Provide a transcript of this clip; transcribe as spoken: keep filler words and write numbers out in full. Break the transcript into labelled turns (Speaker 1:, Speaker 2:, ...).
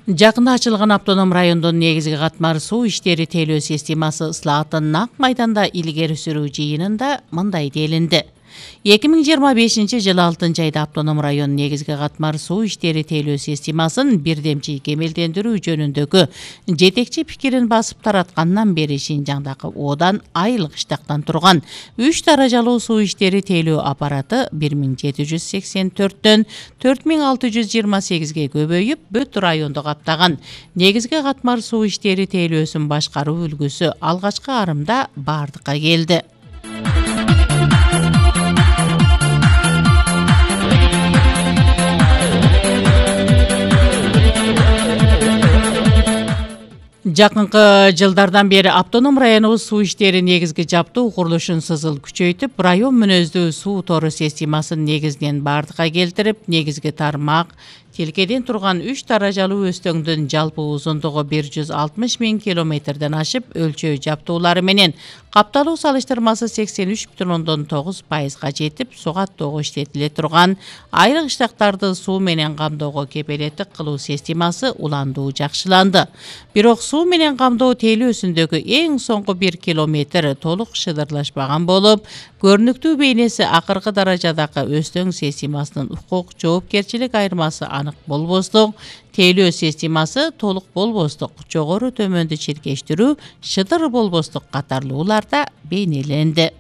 Speaker 1: Жакында ачылган автоном райондун негизги катмар суу иштери тейлөө системасы ысылаатын ак майданда илгери сүрүү жыйынында мындай делинди. эки миң жыйырма бешинчи жылы алтынчы айда автоном район негизги катмар суу иштери тейлөө системасын бирдемчи кемелдендирүү жөнүндөгү жетекчи пикирин басып тараткандан бери Шинжаңдагы оодан айыл кыштактан турган үч даражалуу суу иштери тейлөө аппараты бир миң жети жүз сексен төрттөн төрт миң алты жүз жыйырма сегизге көбөйүп, бүт районду каптаган. Негизги катмар суу иштери тейлөөсүн башкаруу үлгүсү алгачкы арымда бардыкка келди. Жакынкы жылдардан бери автоном районубуз суу иштери негизги жаптуу курулушун сызыл күчөйтүп, район мүнөздүү суу тору системасын негизинен бардыкка келтирип, негизги тармак тилкеден турган үч даражалуу өстөңдүн жалпы узундугу бир жүз алтымыш миң километрден ашып, өлчөө жаптуулары менен капталуу салыштырмасы сексен үч бүтүн ондон тогуз пайызга жетип, суу каттоого иштетиле турган айыл кыштактарды суу менен камдоого кепилеттик кылуу системасы уландуу жакшыланды. Бирок суу менен камдоо тейлөөсүндөгү эң соңку бир километр толук шыдырлашпаган болуп, көрүнүктүү бейнеси акыркы даражадагы өстөң системасынын укук жоопкерчилик айырмасы анык болбостук, тейлөө системасы толук болбостук, жогору төмөндү чиркештирүү, шыдыр болбостук катарлууларда бейнеленди.